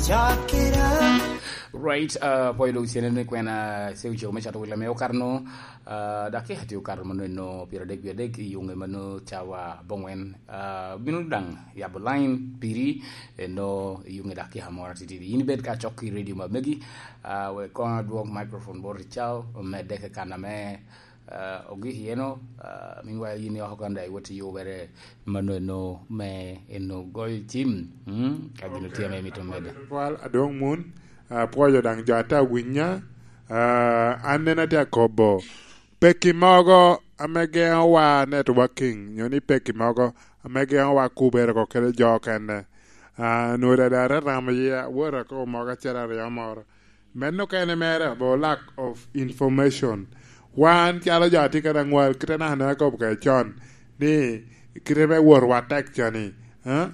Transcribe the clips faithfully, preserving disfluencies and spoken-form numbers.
Right, uh, pwoyo dog cene ni kwena se uciko me cato wila me okarno, uh, dakika tye okarno mano eno pira dek pira dek i yunge mano cawa bongwen, uh, bino dang yabo line piri eno i yunge dakika moro titidi. In ibed ka cok i radio ma megi, uh, we kono adwog microphone bor i cao, medde ke kan ame, uh, ogik yeno, uh, meanwhile yin i oko kanda iwot i yubere mano eno me eno goyo cim, mm, ka gino tye ame imito mede. Twal adwong mun, ah, pwoyo daŋ jo ate awinya, ah, an en atye akobo peki mogo ame geŋowa networking, nyo ni peki mogo ame geŋowa kubere oko kede jo okene. Ah, nwoda daŋ ate ramo yie awot akobo mogo acel aryo moro. Meno okene mere about lack of information. Wan calo jo a tye kede aŋwal, kite naka nen akobo kede con, ni kite me wotwa tek cani, eh?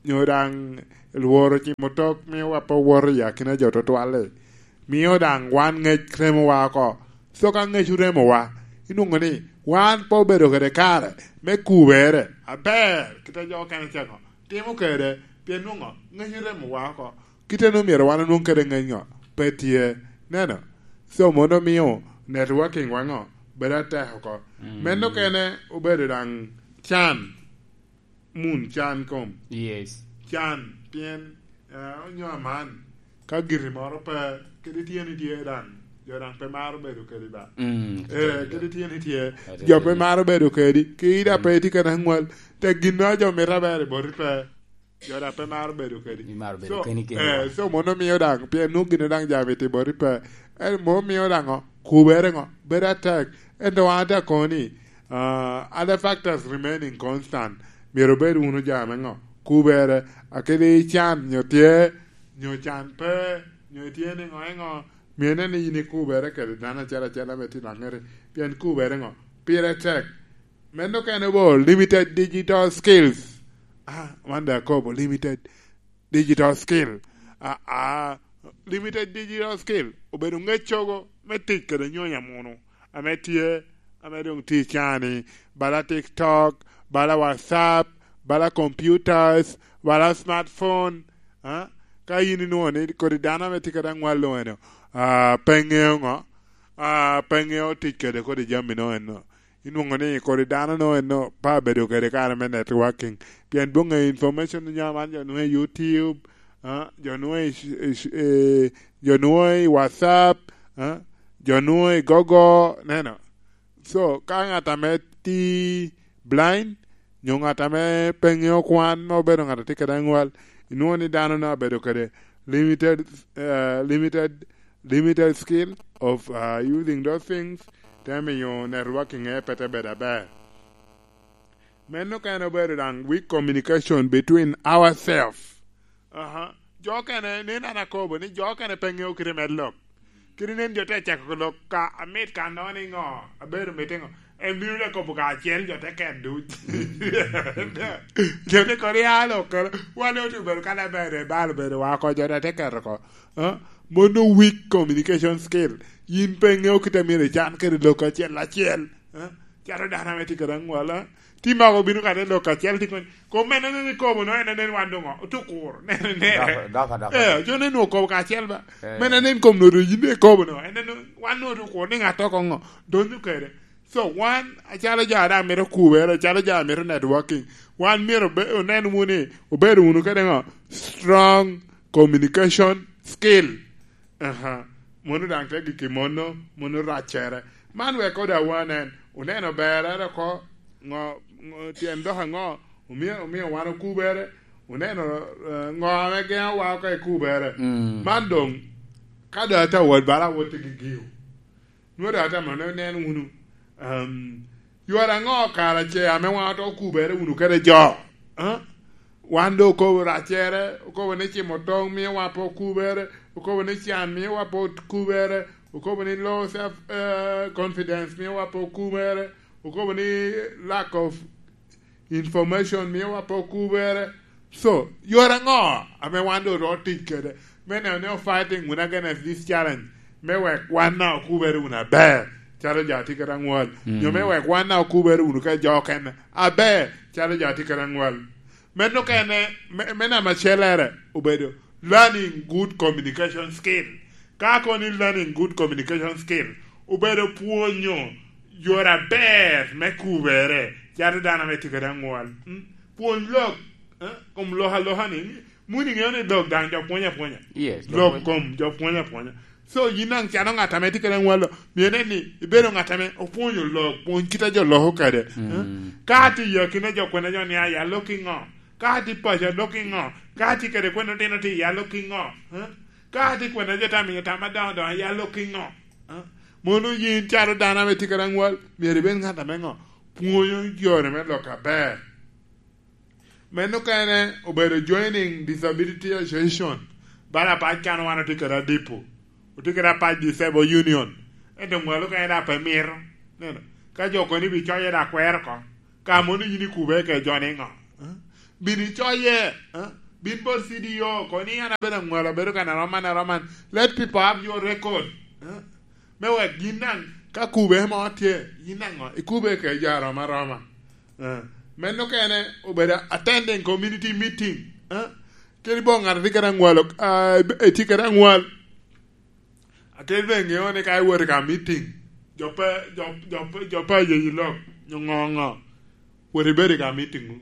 Nyo daŋ lworo cimo tok miowa pe owoto i akina jo tutwal-li. Mio daŋ wan ŋec remowa oko. So ka ŋec oremowa, inwoŋo ni wan pe obedo kede kare me kubere aber, kite jo okene ceŋo timo kede, pien nwoŋo ŋec oremowa oko. Kite-nu myero wan onwoŋ kede ŋec ŋo? Pe tye. Neno? So, mono omio networking wa ŋo? Bedo atek oko. Mm. Meno okene obedo daŋ can. Mun can kom. Yes. Can, pien, eh, onyo aman, ka giri moro pe, kede tye ni tye daŋ, jo daŋ pe maro bedo kedi ba. Mm, eh, kede tye ni tye, jo pe maro bedo kedi. Ki ida pe itye kede aŋwal, tek gin ma jo mito aber i boti pe. Jo daŋ pe maro bedo kedi. Imaro bedo keni keni. Eh, so mono mio daŋ, pien nwoŋo gin daŋ jami tye boti pe. En mono mio daŋ o, kubere ŋo? Bedo atek. Ento wan atye akobo ni, ah, other factors remaining constant. Myero obed wunu jo ame ŋo? Kubere. Akede can nyo tye, nyo can pe, nyo tye ni ŋo i ŋo. Myero inen ni in ikubere kede dano acel acel ame tye i laŋeti. Pien kubere ŋo? Pire tek. Meno okene bo limited digital skills. Ah, man daŋ akobo limited digital skill. Ah, ah, limited digital skill. Obedo ŋeccogo me tic kede nyonyo munu. Ame tye, ame doŋ tye i cani. Bala TikTok, bala WhatsApp, bala computers, bala smartphone. Ah, ka in inwoŋo ni kodi dano ame tye kede aŋwal luŋ eno, ah, pe ŋeo ŋo? Ah, pe ŋeo tic kede kodi jami no eno. Inwoŋo ni kodi dano no eno pe abedo kede kare me networking. Pien dwoŋ e information nyo man jo nwoŋo i YouTube, ah, jo nwoŋo i sh-, i sh-, eh, jo nwoŋo i WhatsApp, ah, jo nwoŋo i Google, neno. So, ka ŋat ame tye blind, nyo ŋat ame pe ŋeo kwan, ma obedo ŋat a tye kede aŋwal, inwoŋo ni dano no abedo kede limited, eh, limited limited skill of, uh, using those things, te miyo networking e pe te bedo aber. Meno okene obedo daŋ weak communication between ourselves. Aha. Jo okene, nen an akobo ni jo okene pe ŋeo kite me lok. Kite nen jo te cako lok ka amit ka no ni ŋo, abedo mitte ŋo. En bino te kobo ka acel jo te ket duc. Jo te kodi a lok kala, wan otye obedo kala ber, e bal obedo wa oko, jo te keto oko. Ah, mono weak communication skill. Yin pe iŋeo kit a myero ican kede lok acel acel. Ah, calo dano ame tye kede aŋwala. Ti mako bino kade lok acel ti kony. Kom men ane ni kobo no, en ane ni wan doŋo. Otu kur. Nene, nene. Doka, doka, doka. Eh, jo ne nwo kobo ka acel ba. Eh. Men ane ni kom no do yin ne kobo no. En ane wan nwo otu kur ni ŋat oko ŋo. Donyo kede. So, wan, acalo jo a daŋ mito kubere, acalo jo a mito networking, wan myero obe-, onen wunu ni obedo wunu kede ŋo? Strong communication skill. Aha. Mono daŋ te giki mono, mono raccere. Man wek kodo awa nen, oneno berere oko, ŋo, ŋo, tyen dok aŋo, omio, omio wan okubere, oneno, eh, ŋo ame geŋo wa oko i kubere. Mm. Man doŋ, ka doŋ ate awot bala awot i gigio. Nwoŋo daŋ atamo ni onen wunu. Um, ywara ŋo kara ce ame wan oto okubere wunu kede jo? Ah? Wan doŋ okobo raccere, okobo ni cimo toŋ mio wa pe okubere, okobo ni can mio wa pe okubere, okobo ni low self, eh, confidence mio wa pe okubere, okobo ni lack of information mio wa pe okubere. So, yore aŋo ame wan doŋ ro tic kede me neno ni o fighting wunu against this challenge, me wek wan na okubere wunu aber, calo jo a tye kede aŋwal, mm, nyo me wek wan na okubere wunu ka jo okene aber, calo jo a tye kede aŋwal? Meno okene, me, me namba acellere obedo Learning good communication skill. Ka kono ni learning good communication skill, obedo pwonyo yore aber me kubere, calo dano ame tye kede aŋwal. Mm? Pwony lok, eh, kom lok aloka ni, ni, muni ŋeo ni lok daŋ jo pwonyo apwonya. Yes, jo Lok pwonyo. Kom jo pwonyo apwonya. So, yin daŋ calo ŋat ame tye kede aŋwal, myero inen ni ibedo ŋat ame opwonyo lok, pwony kit a jo loko kede. Mm. Eh? Ka tye i akina jo kwena jo ni, "Aya, lok i ŋo?" Ka tye paco, lok i ŋo? Ka tye kede kwene otino tye, ya lok i ŋo? Eh? Ka tye kwene jo tye amiyo tam adoŋo doŋo, ya lok i ŋo? Eh? Mono yin calo dano ame tye kede aŋwal, myero ibed ŋat ame ŋo? Pwonyo yore me lok aber. Meno okene obedo joining Disability Association, bala pac kan wan otye kede adipo, otye kede apac Disabled Union, ento ŋwal okene daŋ pe mito. Neno, ka jo kono ibicoye daŋ kwero oko. Ka mono yin ikube ke jo ni ŋo? Eh? Bin icoye, eh? Bin bot C D O, kono ni an abedo aŋwalo, abedo kan aroman, aroman. Let people have your record. Eh? Me wek yin daŋ, ka kube mo tye, yin daŋ ŋo? Ikube ke jo arom aroma. Eh? Meno okene obedo attending community meeting. Eh? Kadi bo ŋat a tye kede aŋwal, ah, itye kede aŋwal. Atel doŋ iŋeo ni ka iwot i ka miting, jo pe, jo, jo pe, jo pe ayeyi lok, nyo ŋo ŋo, wot ibed i ka miting-wu.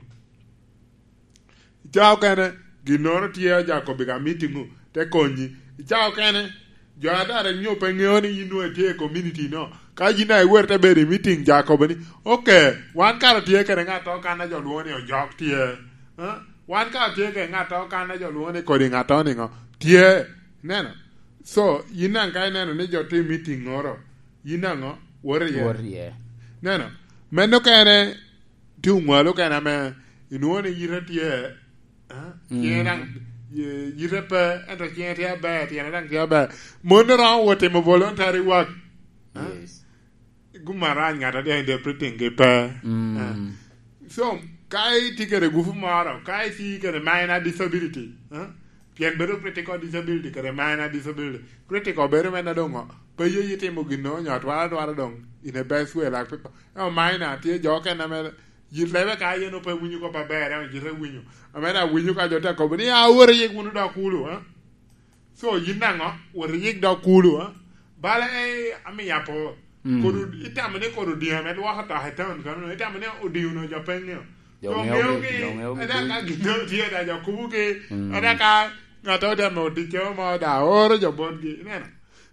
Icaa okene, ginnoro tye a ja kobbi ka miting-wu, te konyi. Icaa okene, jo a dara nyo pe ŋeo ni yin nwoŋo itye i community-no. Ka yin daŋ iwot ite bedo i miting, ja kobo ni, "Ok, wan kara tye kede ŋat o kan a jo lwongo ni Ojok tye. Eh? Wan kara tye kede ŋat o kan a jo lwongo ni kodi ŋat o niŋo? Tye." Neno? So, yin daŋ ka ineno ni jo tye i miting-ŋoro, yin daŋ ŋo? Wot iye. Wot iye. Neno? Meno okene tye oŋwalo okene ame inwoŋo ni yite tye, eh? Mm. Ciŋe daŋ, ye-, yite pe, ento ciŋe tye aber, tyene daŋ tye aber. Mon dok romo wot timo voluntary work. Eh? Yes. Gum arac ŋat a tye interpreting gi pe. Mm. Eh. So, ka itye kede gupu moro, ka itye kede minor disability, eh? Pien bedo critical disability kede minor disability. Critical bedo me na doŋ pe ye itimo gin onyo atwara atwara doŋ in a best way, like, ento minor tye jo okene ame yit lebe ka yen pe winyo kop aber, ento yite winyo. Ame na winyo ka jo te kobo ni, "Ah, wot iyik wunu dok kulu, eh?" So, yin daŋ ŋo? Wot iyik dok kulu, a? Bala, eh, amiya po. Mm. Kodi od-, itamo ni kodi odiŋo ame lwoko toka i taun kano, itamo ni odiŋo no jo pe ŋeo. Jo Jo ŋeo ŋeo gi, gi, jo ŋeo gi ada duc. Ka gin doŋ tye da jo kubo gi, mm, ada ka ŋat otemo ticce mo da oro jo botgi, ineno?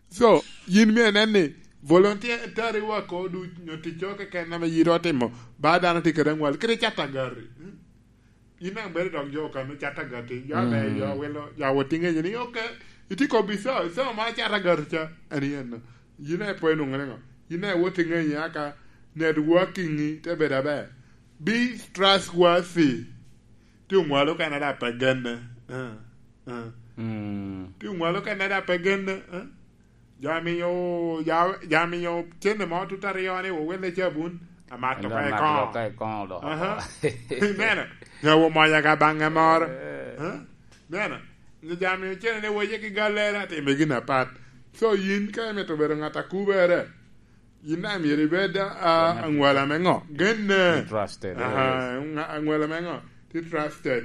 So, yin myero inen ni voluntary work o duc, nyo ticce keken ame yin otimo, ba dano tye kede aŋwal, kede cat agati. Mm? Yin daŋ bedo dok jo okano cat agati, jo aber, mm, jo wilo, jo awot i ŋeye ni, "Ok, itye kobbi so, so ma cat agati ca, en yen no." Yin aye pe inwoŋo niŋo? Yin aye wot i ŋeye aka networking-ŋi te bedo aber. Be trustworthy. Tye oŋwalo okene daŋ pe genne. Eh, eh. Mm. Tye oŋwalo okene daŋ pe genne, eh? Jo a miyo, jo, jo a miyo cente mo tut aryo ni wowelle cabun, amato ka i koŋo. Amato ka i koŋo dok. Aha. Ineno? Nyo womonya ka baŋe moro. Eh. Huh? Ineno? Nyo jo a miyo cente ni woye ki gallere, atime gin apat. So, yin ka imito bedo ŋat a kubere, yin daŋ myero ibed, ah, aŋwala me ŋo? Genne. Trusted, aha, yes. Ŋa-, aŋwala me ŋo? Ti trusted.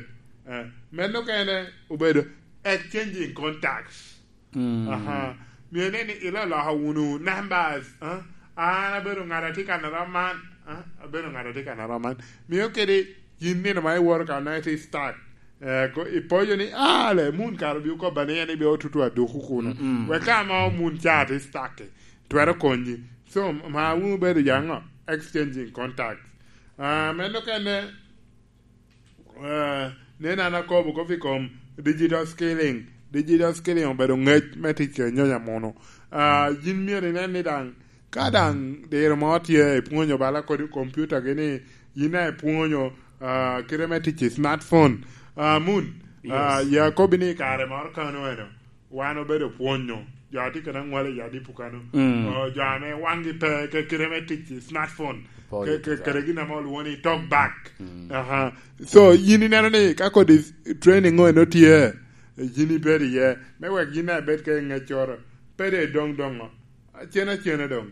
Eh, meno kene obedo exchanging contacts. Mm. Aha. Myero inen ni iloloko wunu numbers, ah? An abedo ŋat a tye ka neno man, ah? Abedo ŋat a tye ka neno man. Miyo kede yin nino ma iworo ka nongo itye stuck. Eh, ko-, ipoyo ni, "Ah, le, mun kara obio kobba ni en ibino tutu aduku kuno." Mm-mm. Wek ka ma mun ca tye stuck, twero konyi. So, ma wun bedo ya ŋo? Exchanging contacts. Ah, meno kene, Eh, nen an akobo kop i kom digital skilling. Digital skilling obedo ngec me tic i nyonya munu. Ah, yin myero inen ni daŋ, ka daŋ diro mo tye ipwonyo bala kodi kompiuta gini, yin daŋ ipwonyo, ah, kite me tic i smartphone. Ah, mun, ah, yes, ya akobi ni i kare moro kano eno, wan obedo pwonyo jo a tye kede aŋwal i Yadipo kano. Mm. O, jo ame waŋgi pe, ke kite me tic i smartphone. Ke, ke, kede gin ame olwongo ni talk back. Mm. Aha. So, yin ineno ni ka kodi training o eno tye, yin ibedo iye, me wek yin daŋ ibed ke i ŋeccoro. Pe de doŋ doŋo. Acen acen doŋ.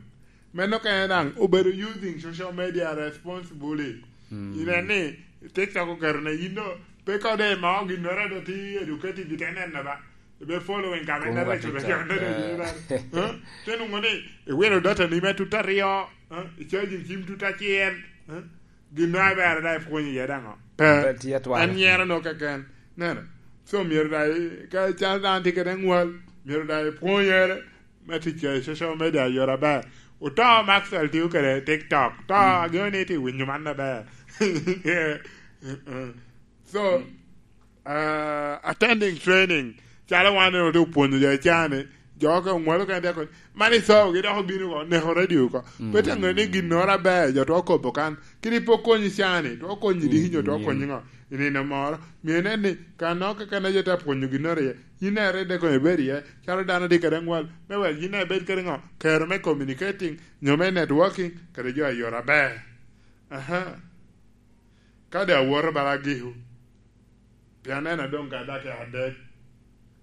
Meno kene daŋ, obedo using social media responsibly. Mm. Inen ni, TikTok oketo ne yin do, pe kode ma ginnoro do ti educative ite neno ba. Ibe following ka me Kuŋ data wacce icobe ca. Cok data icobe data. Huh? Te nwoŋo ni iwilo data ni me tut aryo, huh? Icaji cim tut acel, huh? Gin no aber da ipwonyo iye daŋo? Pe. Pe tye atwal. En nyero no keken. Neno. So myero da i-, ka cal daŋ tye kede ŋwal, myero da ipwonyere me tic i social media yore aber. Oto Maxwell tio kede TikTok. To ageno ni tye winyo man aber. So, uh, attending training, calo wan eno te opwonyo jo i cani, jo ka oŋwalo kene te kony, man isogi dok obino ko, neko radio ko. Pe te ŋeo ni ginnoro aber jo twero kobo kan, kadi pe okonyi cani, twero konyi diki nyo twero konyi ŋo? I nino moro, myero inen ni kan no keken a jo te apwonyo ginnoro iye, yin daŋ ridde kono ibed iye, calo dano tye kede ŋwal, me wek yin daŋ ibed kede ŋo? Kero me communicating, nyo me networking, kede jo i yore aber. Aha. Ka doŋ awoto bala agiko, pien en adoŋ ka dakika adek,